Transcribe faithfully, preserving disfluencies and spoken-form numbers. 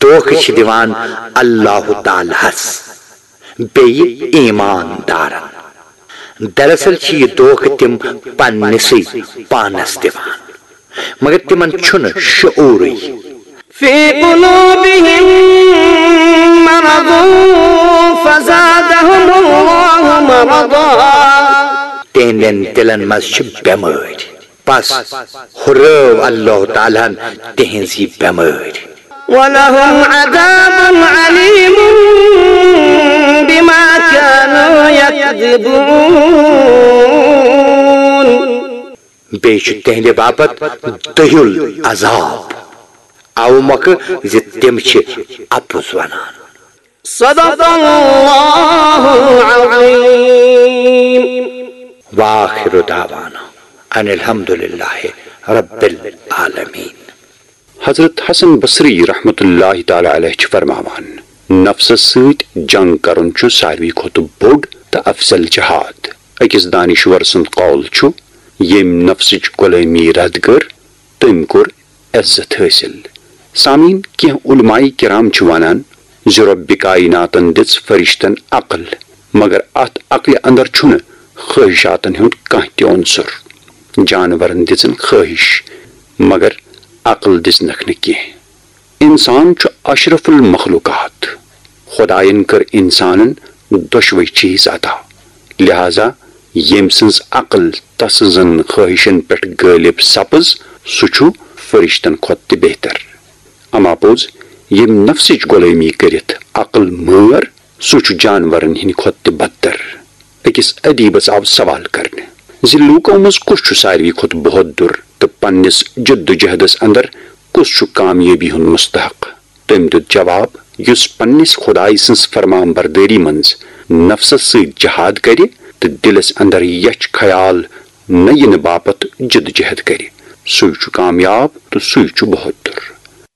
دھوکہٕ چھِ دِوان اللہ تعالیٰ ہس بیٚیہِ ایمان دارن۔ دراصل چھِ یہِ دھوکہٕ تِم پننِسٕے پانس دِوان، مگر تِمن چھُنہٕ شعوٗرٕے۔ في قلوبهم مرض فزادهم الله مرضا۔ تِہنٛدٮ۪ن دِلن منٛز چھِ بٮ۪مٲرۍ، پس ہُرٲو اللہ تعالیٰ ہن تِہنٛز یہِ بٮ۪مٲرۍ۔ ولهم عذاب أليم بما كانوا يكذبون۔ بیٚیہِ چھُ تِہنٛدِ باپتھ دٔہیُل عذاب، اَوٕ مۄکھٕ زِ تِم چھِ اَپُز وَنان۔ صدق الله العظيم۔ وآخر دعوانا أن الحمد لله رب العالمين۔ حضرت حسن بصری رحمتہ اللہ تعالیٰ علیہ چھِ فرماوان، نفسس سۭتۍ جنگ کرُن چھُ ساروی کھۄتہٕ بوٚڑ تہٕ افضل جہاد۔ أکِس دانشور سُنٛد قول چھُ، ییٚمۍ نفسٕچ غلٲمی رد کٔر، تٔمۍ کوٚر عزت حٲصِل۔ سامعیٖن، کینٛہہ علماء کرام چھِ ونان زِ رۄبِ کائناتن دِژ فرشتن عقل، مگر اتھ عقلہِ اندر چھُنہٕ خٲہشاتن ہُنٛد کانٛہہ تہِ عنصر۔ جانورن دِژن خٲہش، مگر عقل دِژنکھ نہٕ کینٛہہ۔ انسان چھُ اشرف المخلوقات۔ خدایَن کٔر انسانن دۄشوے چیز عطا۔ لہذا ییٚمۍ سٕنٛز عقل تس سٕنٛزن خٲہشن پٮ۪ٹھ غٲلب سپٕز، سُہ چھُ فرشتن کھۄتہٕ تہِ بہتر۔ اما پوٚز، ییٚمۍ نفسٕچ غلٲمی کٔرِتھ عقل مٲر، سُہ چھُ جانورن ہٕنٛدِ کھۄتہٕ تہِ بدتر۔ أکِس ادیبس آو سوال کرنہٕ زِ لوٗکو منٛز کُس چھُ ساروی کھۄتہٕ بہتر تہٕ پننِس جدوجہدس اندر کُس چھُ کامیٲبی ہُنٛد مستحق؟ تٔمۍ دیُت جواب، یُس پننِس خدایہِ سٕنٛز فرمان بردٲری منٛز نفسس سۭتۍ جہاد کرِ تہٕ دِلس اندر یچھ خیال نہ یِنہٕ باپتھ جدوجہد کرِ، سُے چھُ کامیاب تہٕ سُے چھُ بہتر۔